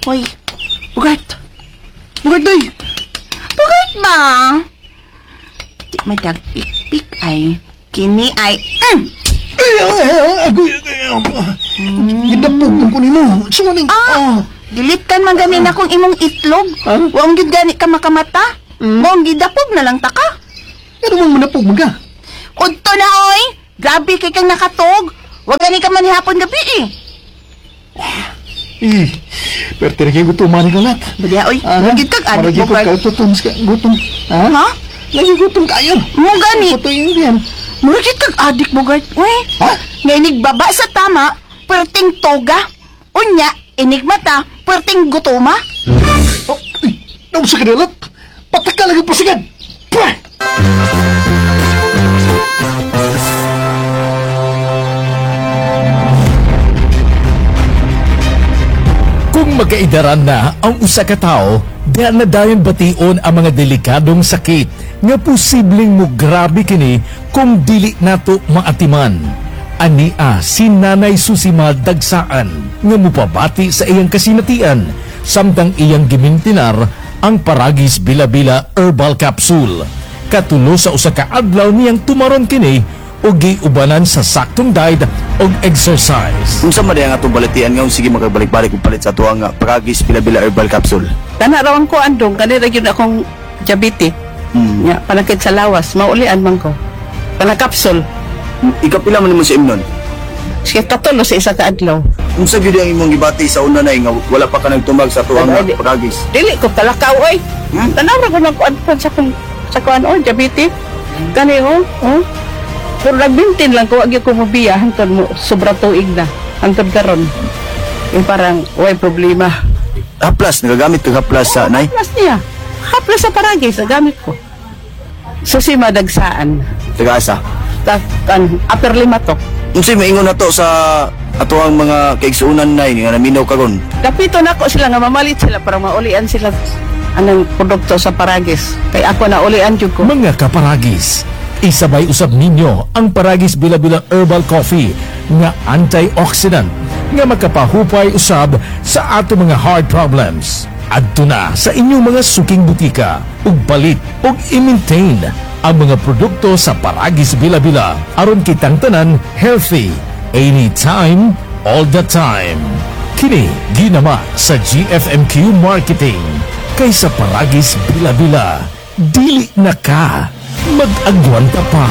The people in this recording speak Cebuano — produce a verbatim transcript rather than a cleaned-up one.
Hoy, Bugart. Bugart, doy. Bugart ba? Di madagpik-pik ay. Kini ay... Mm. Ay, ay, ay, agoy, ay, ay. Gidapog ko nimo. Suwaning. Ah, gilitan man gani na akong imong itlog. Ah? Wa gyud gani ka makamata. Mm. Mong gidapog na lang ta ka. Ano man manapog man ka? Udto na oy. Grabe kay kang nakatog. Wa gani ka man hapon gabi eh. Eh, pero tinagay gutom man ka lahat. Badya oy, Ah, uh, kag adik Maragi ko Bugart. kaututom sa gutom. Ha? Ha? Lagi gutom kayo. Mo gani. Puto yung yan. Mura gyud kag adik Bugart. Uy. Ha? Nga inigbaba sa tama, perting toga. Unya, inigmata, perting gutoma. Oh, ay, naum sa kanilat. Pataka lagi pasigan. Pah! Kung magkaidaran na ang usa ka tawo, di na dayon bation ang mga delikadong sakit nga posibleng mo grabe kini kung dili nato maatiman. Ania si Nanay Susima Dagsaan nga mupabati sa iyang kasinatian samtang iyang gimintinar ang Paragis Bila-Bila Herbal Capsule. Katulo sa usa ka adlaw niyang tumaron kini ug giubanan sa saktong diet ug exercise. Unsa man ang atong balatian nga sige makabalik-balik og palit sa atuang nga Paragis Bila-Bila Herbal Capsule. Tana raw ang kuan dong kani ra gyud akong diabetes. Mm. Nya panakit sa lawas, maulian man ko. Kana kapsul. Ikapila man nimo sa imnon. Sige katulo sa isa ka adlaw. Unsa gyud ang imong gibati sa una nay nga wala pa ka nagtumag sa atuang nga Ano, di- Paragis? Dili ko kalakaw oy. Hmm? Tanaw ra ko nang kuan pa sa kong sa kuan oy diabetes. Kani oh, oh. Pero nagbintin lang ko, wag gyud ko mobiya hangtod mo sobra tuig na. Hangtod karon. Yung parang way problema. Haplas nagagamit kag haplas sa nay. Haplas niya. Haplas sa Paragis, nagamit ko. Susi madagsaan. Taga-asa. Ta, kan, upper lima to. Unsay maingon nato sa atuang mga kaigsuonan nay nga naminaw karon? Dapito nako sila nga mamalit sila para maulian sila anang produkto sa Paragis. Kay ako na ulian jud ko. Mga kaparagis, isabay usab ninyo ang Paragis Bila-Bila Herbal Coffee nga antioxidant nga makapahupay usab sa ato mga heart problems. Adto na sa inyong mga suking butika ug palit ug i-maintain ang mga produkto sa Paragis Bila-Bila aron kitang tanan healthy anytime, all the time. Kini ginama sa G F M Q Marketing kaysa Paragis Bila-Bila. Dili na ka, mag-agwanta pa.